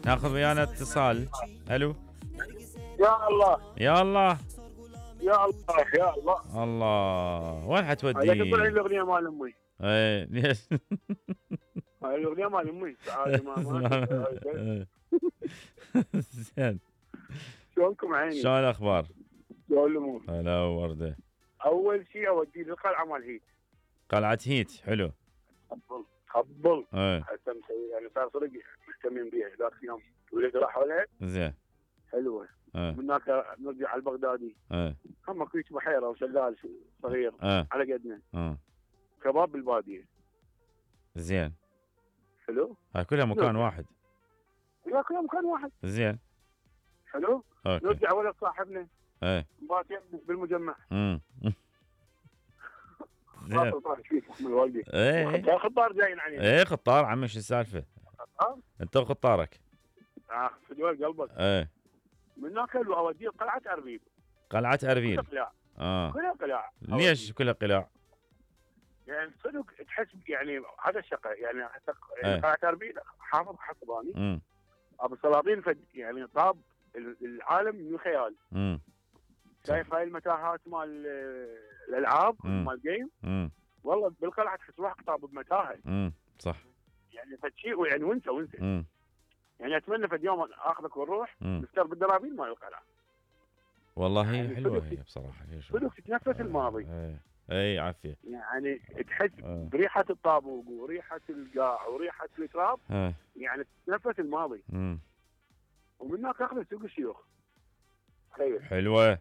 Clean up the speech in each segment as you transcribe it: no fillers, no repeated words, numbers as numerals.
ناخذ ويانا اتصال. الو. يا الله يا الله. يا الله يا الله. الله وين هذا حتودي؟ تطلع الاغنيه مال امي. ايه ليش؟ هاي الاغنيه مال امي. تعال ماما. زين. شلونكم عيني؟ شلون الاخبار؟ شلون الامور؟ هلا ورده. اول شيء اودي للقلعه مال هيت. قلعة هيت حلو. خبل ايه هسه مسوي يعني صار صدق مهتمين بيها ذاك اليوم ولد راحوا لها زين. حلوه. ايه من هناك نرجع على البغدادي. ايه هم كويت بحيره وشلال صغير ايه على قدنا. ايه كباب بالباديه. زين. حلو. هاي كلها مكان واحد. لا كلها مكان واحد. زين. حلو. اوكي. نرجع ولد صاحبنا ايه مبات بالمجمع. زين. ايه خطار جايين علينا. ايه خطار عمي شو السالفه؟ انت وخطارك. في دول قلبك. ايه من هناك اوديه قلعه اربيل. قلعة اربيل. كلها قلاع. اه كلها قلاع. ليش كلها قلاع؟ يعني صدق تحس يعني هذا الشقه يعني حتى ايه. قلعه اربيل حافظ حسباني. امم ابو سلاطين يعني طاب العالم من الخيال. شايف هاي المتاهات مال الالعاب مال جيم. والله بالقلعه تحس روحك طاب بمتاهه. صح. يعني فشيء يعني وانت يعني اتمنى في اليوم اخذك ونروح نفتر بالدرابين مال القلعه. والله يعني حلوه هي بصراحه. صدق تتنفس الماضي. اي عافيه. يعني تحس بريحه الطابوق وريحه القاع وريحه التراب. يعني تتنفس الماضي. ومن هناك اخذ سوق الشيوخ. تخيل. حلوه.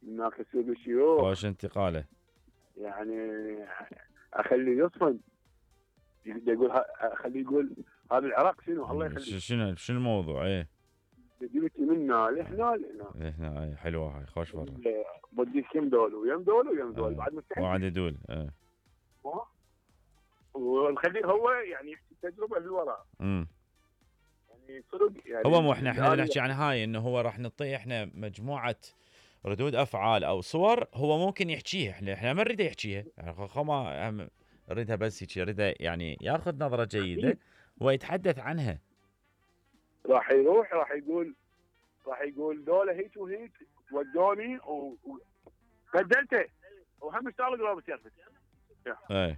من هناك سوق الشيوخ. وش انتقاله؟ يعني اخليه يصفن. يعني يقول اخليه يقول هذا العراق شنو الله يخليك. شنو الموضوع؟ ايه جبتي منا لهنا لهنا. اي حلوه هاي خوش فرة. بديك يم دول ويم دول ويم دول بعد مستحيل. وعد يدول. ونخليه هو يعني يحكي التجربه اللي وراء. يعني صدق يعني هو مو احنا نحكي عن هاي انه هو راح نعطيه احنا مجموعه ردود افعال او صور هو ممكن يحكيها. احنا ما نريده يحكيها يعني ما نريدها بس هيك نريده يعني ياخذ نظره جيده ويتحدث عنها. راح يروح راح يقول دولة هيك وهيك ودوني وبدلته وهم اشتغل قرابة سيرفس. اي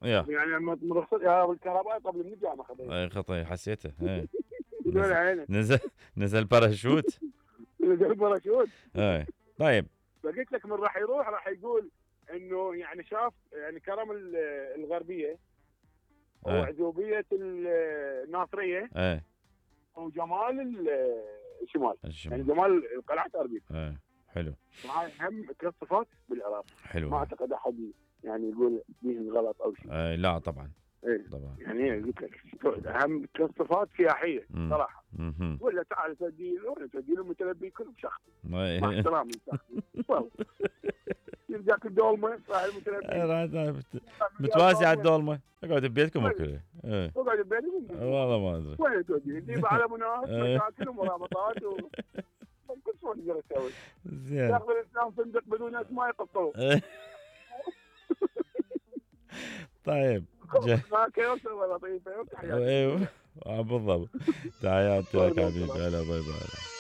يعني من رخصت يا بالكهرباء قبل من الجامعة خطير. اي خطير حسيته. نزل باراشوت. نزل باراشوت. اي طيب. فقلت لك من راح يروح راح يقول انه يعني شاف يعني كرم الغربية وعذوبية الناصرية. وجمال الشمال. يعني جمال قلعة اربيل. حلو. هاي هم ثلاث صفات بالعراق. حلو. ما اعتقد احد يعني يقول بيهم غلط او شيء. لا طبعا. طبعا. يعني قلت لك هم ثلاث صفات سياحيه صراحه. ولا تعال تودي له متلبي كل شخص. مع احترامي والله. يرجعك الدولمه صاحب المتلبي. متواسي على الدولمه. اقعد ببيتكم وكله. اقعد ببيتكم. والله ما ادري. وين تودي؟ اللي على مناط مشاكل ومرابطات كل شو نقدر نسوي. زين. ياخذ الاسلام صندق بدون اسماء يقطعوه. طيب. ما كيوسف ولا لطيفه. ايوه بالضبط. تحياتي لك حبيبي. هلا باي باي.